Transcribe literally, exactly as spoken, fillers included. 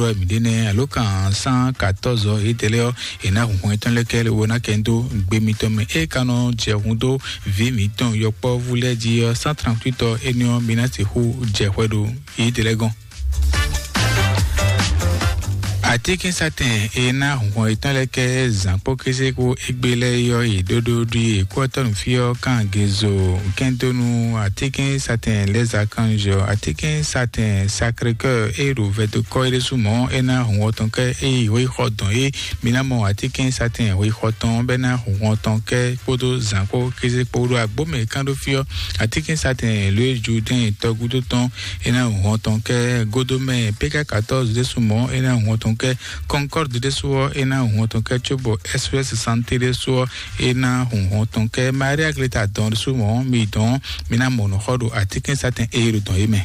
Wɛ mǐ ɖe nɛ́ alo kan cent quatorze ɔ́, yědɛɛ lɛ́ɛ ɔ́, è nǎ hun hɔn yětɔn lɛ́ɛ kɛ lé wo ná kɛ dó gbe mitɔn mɛ. Ée ka nɔ jɛ hun dó vǐ mǐtɔn yɔkpɔ́vú lɛ́ɛ jí ɔ́, cent trente-huit ɔ́, énɛ́ ɔ́, mi ná sixú jɛ hwɛ ɖo yědɛɛ lɛ́ɛ gɔ́n. Atínkínsatɛn e ná hun hɔn yětɔn lɛ́ɛ kɛ zǎn kpó kéze kpó égbé lɛ́ɛ yɔ́ yi ɖóɖó ɖu yi kwɔ́tɔ́ nǔ fí ɔ́ kan gezo kɛndónú atínkínsatɛn lɛ́ɛ zǎkanzɔ atínkínsatɛn Sacré-Cœur e ɖo vɛdokɔ é ɖésú mɔ̌ é ná hun hɔn tɔn kɛ é yi hwexɔ dɔn é. Mi ná mɔ atínkínsatɛn hwexɔ tɔn bɛ́ ná hun hɔn tɔn kɛ kpódó zǎn kpó kéze kpó ɖo agbómɛ kán ɖó fí ɔ́. Atínkínsatɛn lóe Judɛ́ɛn tɔgúdó tɔn é ná hun hɔn tɔn kɛ Godomɛ P K quatorze ɖésú mɔ̌ é ná hun hɔn tɔn kɛ Concorde ɖésú ɔ́ é ná hun hɔn tɔn kɛ cóbɔ S O S Santé ɖésú ɔ́ é ná hun hɔn tɔn kɛ Maria Gleta dɔn ɖésú mɔ̌ mi dɔn mi ná mɔ nǔ xɔ ɖo atínkínsatɛn e ɖo dɔn é mɛ.